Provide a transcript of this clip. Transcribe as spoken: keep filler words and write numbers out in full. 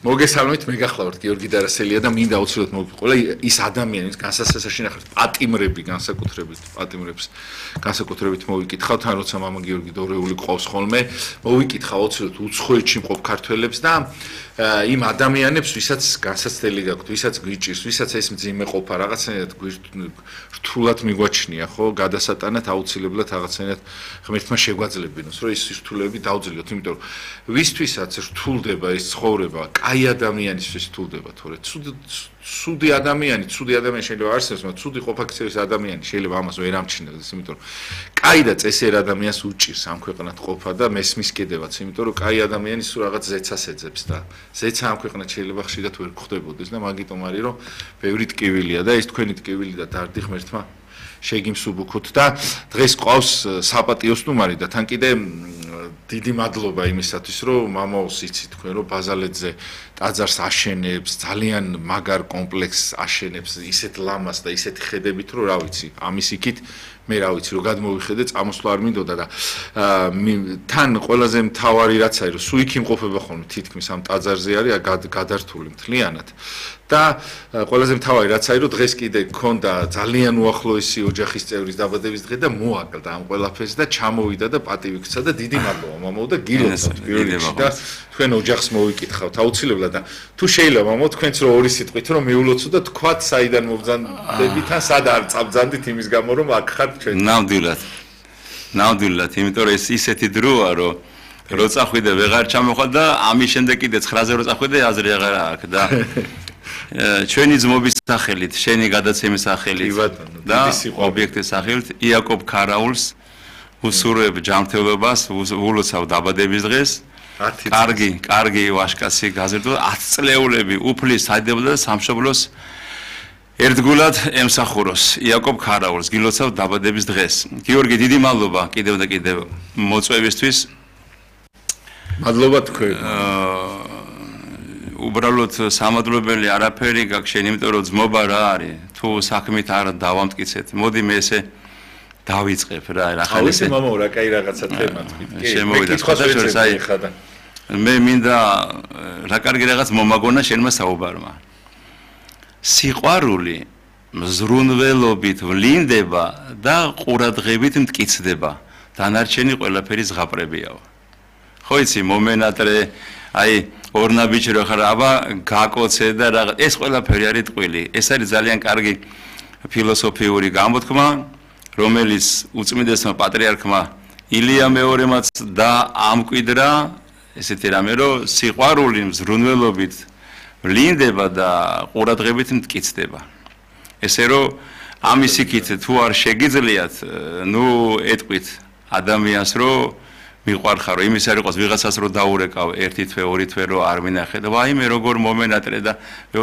მოგესალმებით, მე გახლავართ გიორგი დარასელია და მინდა აუცილებლად მოვიყოლა ის ადამიანი, ვინც განსაცდელში ნახავთ პატიმრები განსაკუთრებით, პატიმრებს განსაკუთრებით მოვიკითხავთ, თან როცა მამა გიორგი დორეული ყავს ხოლმე, მოვიკითხავ აუცილებლად უცხოეთში მყოფ ქართველებს და იმ ადამიანებს, ვისაც განსაცდელი გაქვთ, ვისაც გვიჭირს, ვისაც ეს მძიმე ყოფა რაღაცნაირად რთულად მიგვაჩნია, ხო, გადასატანად აუცილებლად რაღაცნაირად ღმერთმა შეგვაძლებინოს, რომ ის რთულები დავძლიოთ, იმიტომ რომ ვისთვისაც რთულდება ეს ცხოვრება, კაი ადამიანისთვის რთულდება, თორე ცუდი ადამიანი, ცუდი ადამიანი შეიძლება არსებობს, მაგრამ ცუდი ყოფა-ქცევის ადამიანი შეიძლება ამას ვერ ამჩნევდეს, იმიტომ რომ კაი და წესიერ ადამიანს უჭირს ამ ქვეყნად ყოფა და მესმის კიდევაც, იმიტომ რომ კაი ადამიანი სულ რაღაც ზეცას ეძებს და ზეცა ამ ქვეყნად შეიძლება ხშირად ვერ გვხვდებოდეს და მაგიტომ არის რომ ბევრი ტკივილია და ეს თქვენი ტკივილი და დარდი ღმერთმა შეგიმსუბუქოთ და დღეს ყავს საპატიო სტუმარი და თან კიდე დიდი მადლობა იმისათვის რომ მამაოს იცით თქვენ რომ ბაზალეთზე ტაძარს აშენებს ძალიან მაგარ კომპლექსს აშენებს ისეთ ლამას და ისეთი ხედებით რომ რა ვიცი ამის იქით მე რა ვიცი რომ გადმოვიხედე წამოსვლა არ მინდოდა და თან ყველაზე მთავარი რაც არის რომ სულ იქ იმყოფება ხოლმე თითქმის ამ ტაძარზე არის გადართული მთლიანად და ყველაზე მთავარი რაც არის რომ დღეს კიდე გქონდა ძალიან უახლოესი ოჯახის წევრის დაბადების დღე და მოაკლდა ამ ყველაფერს და ჩამოვიდა და პატივი ქცა და დიდი მადლობა მამაო და გილოცავთ პირველ რიგში და თქვენ ოჯახს მოვიკითხავთ აუცილებლად და თუ შეიძლება მამაო თქვენც რო ორი სიტყვით რომ მიულოცო და თქვათ საიდან მოგზანდებით ან სად არ წაბძანდით იმის გამო რომ აქ ხართ ჩვენ ნამდვილად ნამდვილად იმიტომ რომ ეს ისეთი დროა რომ რო წახვიდე ვეღარ ჩამოხვალ და ამის შემდეგ კიდე ცხრაზე რო წახვიდე აზრი აღარ აქვს და ჩვენი ძმობის სახელით, შენი გადაცემის სახელით და ობიექტის სახელით იაკობ ქარაულს უსურვებ ჯანმრთელობას, ულოცავ დაბადების დღეს. კარგი, კარგი ვაშკაცი გაზრდო ათი წლეულები უფლის საიდუმლო და სამშობლოს ერთგულად ემსახუროს იაკობ ქარაულს გილოცავ დაბადების დღეს. გიორგი, დიდი მადლობა კიდევ და კიდევ მოწვევისთვის. მადლობა თქვენ. უბრალოდ სამადლობელი არაფერი გაქვს შენ, იმიტომ რომ ძმობა რა არის, თუ საქმით არ დავამტკიცეთ. მოდი მე ესე დავიწყებ რა, რა ხარ ესე. ავი მამაო, რა კაი რაღაცა თემა თქვით. კი, შემოვიდა ხოთაშორს აი მე მინდა რა კარგი რაღაც მომაგონა შენმა საუბარმა. სიყვარული მზრუნველობით ვლინდება და ყურადღებით მტკიცდება. დანარჩენი ყველაფერი ზღაპრებიაო. ხო იცი, მომენატრე აი ორნაბიჭი რო ხარ, აბა გაკოცე და რაღაც ეს ყველაფერი არის ტყვილი. ეს არის ძალიან კარგი ფილოსოფიური გამოთქმა, რომელიც უწმიდესმა პატრიარქმა ილია მეორემაც და ამკვიდრა, ესეთი რამე რომ სიყვარული მზრუნველობით ვლინდება და ყურადღებით მტკიცდება. ესე რომ ამის იქით თუ არ შეგიძლიათ, ნუ ეტყვით ადამიანს რომ მიყვარხარო, იმის არ იყოს ვიღაცას რო დაურეკავ ერთი თვე, ორი თვე რო არ მინახე და ვაიმე როგორ მომენატრე და